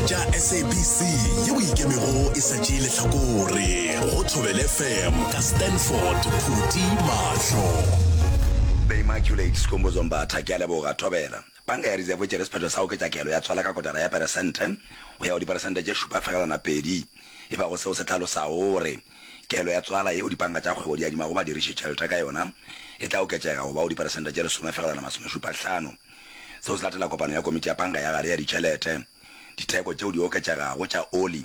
tša SABC yeo e ikemego e sa tšee lehlakore go Thobela FM ka Stanford Phuti Mahlo. The Immaculate Skhumbuzo Mbatha, Ke a leboga, Thobela. Panka ya Reserve e tšere sephetho sa go oketša kelo ya tswala ka kotara ya peresente go ya go diperesente tše 7,2, e bago seo se hlalosago gore kelo ya tswala yeo dipanka tša kgwebo di adimago badiriši tšhelete ka yona e tla oketšega go ba go diperesente tše 10,75. Seo se latela kopano ya komiti ya panka ya gare ya ditšhelete. Ditheko tšeo di oketšegago tša oli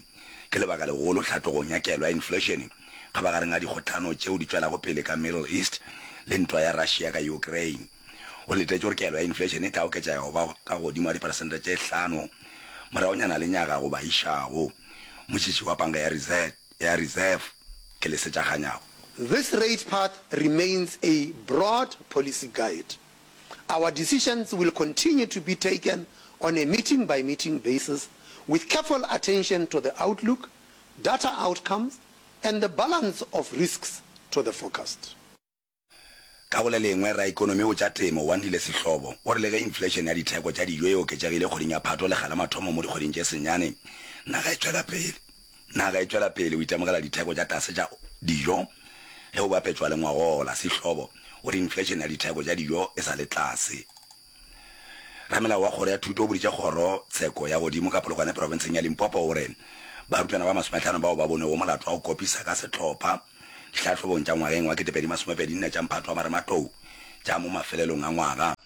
ke lebaka legolo hlatlogong ya kelo ya inflešene kgabagareng ga dikgohlano tšeo di tšwelago pele ka Middle East le ntwa ya Russia ka Ukraine. Go letetšwe gore kelo ya inflešene e tla oketšega go ba ka godimo ga diperesente tše hlano moragonyana lenyaga goba išago. Motšhitšhi wa panka ya ya Reserve ke Lesetša Kganyago. This rate path remains a broad policy guide. Our decisions will continue to be taken on a meeting-by-meeting basis with careful attention to the outlook, data outcomes and the balance of risks to the forecast. Ka go le lengwe, raikonomi go tša temo, Wandile Sehlobo, o re le ge inflešene ya ditheko tša dijo e oketšegile kgweding ya Phato lekga la mathomo mo dikgweding tše senyane, naga e tšwela pele naga e tšwela pele go itemogela ditheko tša tlase tša dijo ge go bapetšwa le ngwagola. Sehlobo o re inflešene ya ditheko tša dijo e sa le tlase. Ramelao wa kgoro ya thuto o boditše kgoro tsheko ya godimo ka Polokwane profenseng ya Limpopo gore barutwana ba masomehlano bao ba bonwego molato wa go kopisa ka sehlopha dihlahlobong tša ngwageng wa 2024 tša mphato wa marematlou tša mo mafelelong a ngwaga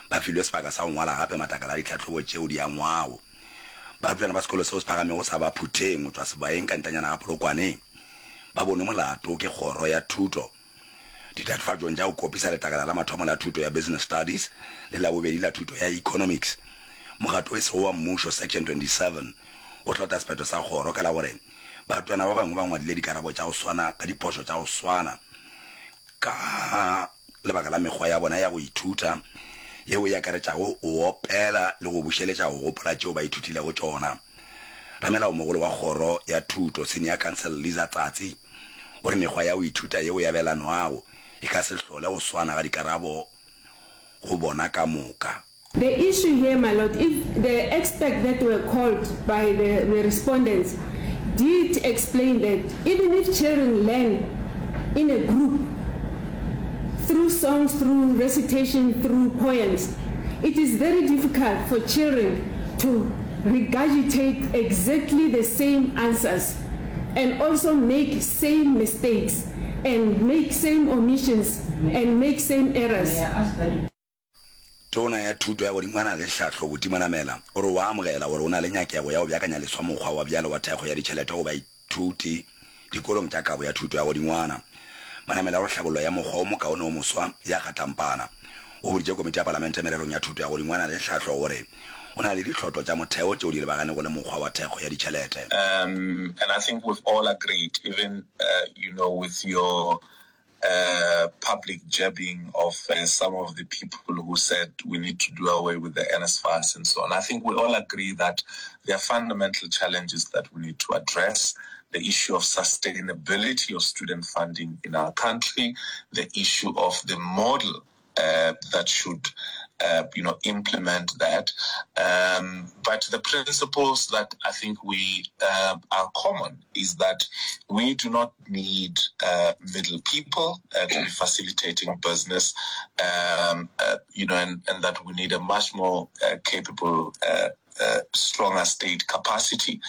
ba filwe sebaka sa go ngwala gape matlakala a ditlhahlobo tšeo di angwago. Barutwana ba sekolo seo se phagamego sa Baphutheng go tšwa Sebaeng ka ntanyana ga Polokwane ba bonwe molato ke kgoro ya thuto Ditatofatšong tša go kopisa letlakala la mathomo la thuto ya Business Studies le la bobedi la thuto ya Economics, mokgatlo e sego wa mmušo Section 27 o hlotla sephetho sa kgoro ka la gore barutwana ba bangwe ba ngwadile dikarabo tša go swana ka diphošo tša go swana ka lebaka la mekgwa ya bona ya go ithuta yeo e akaretšago go opela le go bušeletša go gopola tšeo ba ithutilego tšona. Ramelaomogolo wa kgoro ya thuto, Senior Counsel Liza Tsatsi, O re mekgwa ya go ithuta yeo e abelanwago e ka se hlole go swana ga dikarabo go bona ka moka. The issue here, my lord, if the expert that were called by the, the respondents did explain that even if children learn in a group through songs, through recitation, through poems, it is very difficult for children to regurgitate exactly the same answers and also make same mistakes and make same omissions and make same errors. Tona ya Thuto ya Godingwana le Tlhahlo, Buti Manamela, o re o a amogela gore o na le nyakego ya go beakanya leswa mokgwa wa bjale wa thekgo ya ditšhelete go baithuti dikolong tša kabo ya thuto ya godingwana. Manamela o re tlhabollo ya mokgwa o mokaone o moswa ya kgatlampana. O boditše komiti ya palamente mererong ya thuto ya godingwana le tlhahlo gore o na le ditlhotlo tša motheo tšeo di lebaganego le mokgwa wa thekgo ya ditšhelete. Um, and I think we've all agreed, even, uh, you know, with your uh, public jabbing of uh, some of the people who said we need to do away with the NSFAS and so on. I think we all agree that there are fundamental challenges that we need to address. The issue of sustainability of student funding in our country, the issue of the model uh, that should uh, you know, implement that. Um, but the principles that I think we uh, are common is that we do not need uh, middle people uh, to be facilitating business, um, uh, you know, and, and that we need a much more uh, capable, uh, uh, stronger state capacity.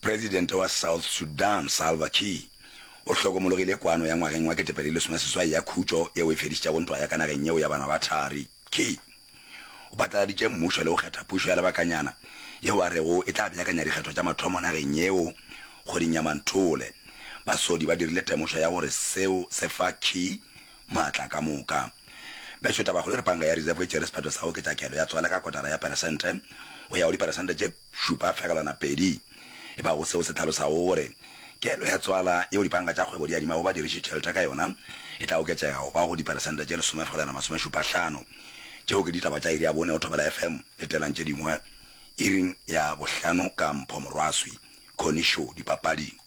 Presidente wa South Sudan Salva Kiir o hlokomologile kwano ya ngwageng wa 2018 ya khutšo yeo e fedišitšego ntwa ya ka nageng yeo ya bana ba thari. Kiir o phatlaladitše mmušo le go kgetha pušo ya lebakanyana yeo a rego e tla beakanya dikgetho tša mathomo nageng yeo kgweding ya Manthole. Basodi ba dirile temošo ya gore seo se fa Kiir maatla ka moka. Bešo tabakgolo e re panka ya Reserve e tšere sephetho sa go oketša kelo ya tswala ka kotara ya peresente go ya go diperesente tše 7,2, e bago seo se hlalosago gore kelo ya tswala yeo dipanka tša kgwebo di adimago badiriši tšhelete ka yona e tla oketšega go ba go diperesente tše 10,75. Tšeo ke ditaba tša iri ya bone go Thobela FM. Letelang tše dingwe iring ya bohlano ka Mpho Morwaswi, Connie Show, Dipapading.